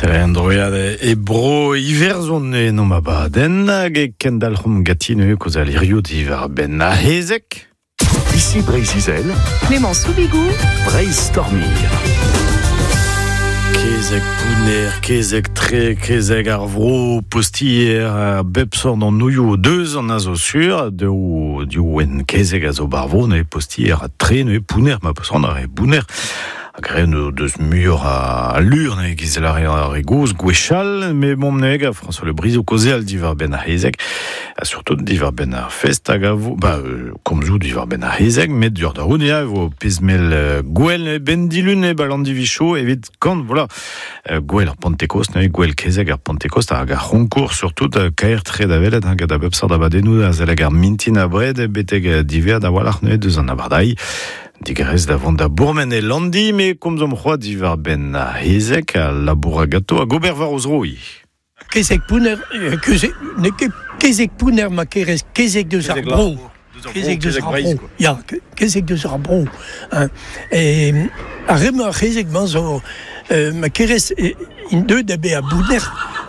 An droiad e bro Iwerzhon en omp abadenn hag e kendalc'homp ganti neuze kaozeal hiziv diwar-benn ar c'hezeg. Ici Breizh-Izel, Clément Soubigou, Breizh Storming. Kezeg pounner, kezeg tre, kezeg ar vro, postier, a bep sort an nouioù deus an a zo sur, deo diou en kezeg a zo bar vro, neuze postier ha tre, neuze pounner, ma peus ar re bounner. Hag re deus muioc'h a lur, neuze giz ar re gozh gwechall, me bon neuze gant François Le Bris o kaozeal diwar-benn ar c'hezeg, ha surtout diwar-benn ar fest hag a vo, ba, komzoù diwar-benn ar c'hezeg, met dur da roun eo, e vo pezh-mell gwell ben dilun e bal an divicho evit kant, voilà, gwell ar Pentekost, neuze gwell kezeg ar Pentekost hag ar c'honkour surtout kaer tre da welet, hein, gant a bep sort abadennoù a zelleg ar mintin abred betek diver da walc'h neuze deus an abardailh. Digarez da vont da bourmen e Landi, me komzomp c'hoaz diwar-benn ar c'hezeg, a labour ganto hag ober war o zro ivez. Kezeg pounner, kezeg, n'eo ket kezeg pounner ma kerez kezeg deus ar bro. Kezeg deus ar bro. Ya, kezeg deus ar bro. Hein. E, ar re-mañ ar c'hezeg-mañ zo, ma kerez, int deuet da bezañ pounner,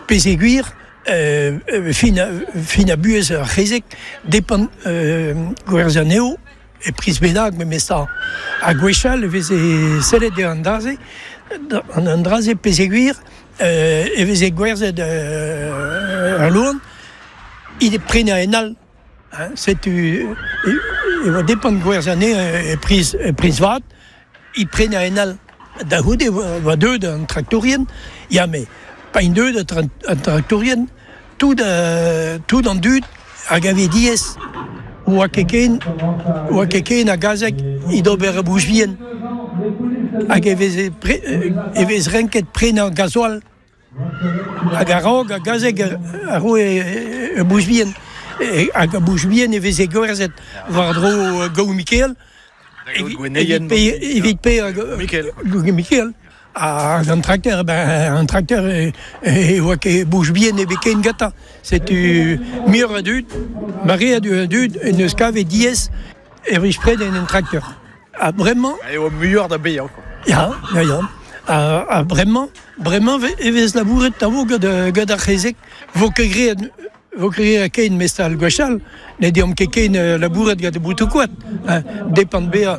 pezeguir, fin a, fin a buhez ar c'hezeg, depend gwerzh anezho, e priz bennak memestra. Ha gwechall e veze sellet eo an dra-se, an dra-se pezeguir e veze gwerzhet al loen, he prenañ en all. Setu e oa depend gwerzhañ anezhañ e priz, e priz vat, he prenañ en all. Da c'houde e oa deuet an traktourien, ya met pa int deuet an traktourien, tout, tout an dud a gave diaes oa ket ken oa ket ken a gazeg evit ober ur bouch vihan hag e veze e vez renket prenañ gasoil hag a-raok ar gazeg a roe ur bouch vihan hag ar bouch vihan e veze gwerzhet war-dro Gaou-Mikael evit paeañ Mikael. Hag an trakteur, ben, an trakteur e oa ket bouch bihan ebet ken gantañ. Setu muioc'h a dud, maread a dud en deus kavet diaes e vez prenet un trakteur. Ha bremañ... Eo muioc'h da baeañ quoi. Ya, ya, ya. Ha bremañ, bremañ e vez labouret tavo gant, gant ar c'hezeg. Vo ket graet vo ket graet ken mestal gwechall. Ne deomp ket ken labourat gant boutoù-koad. Depend bezañ.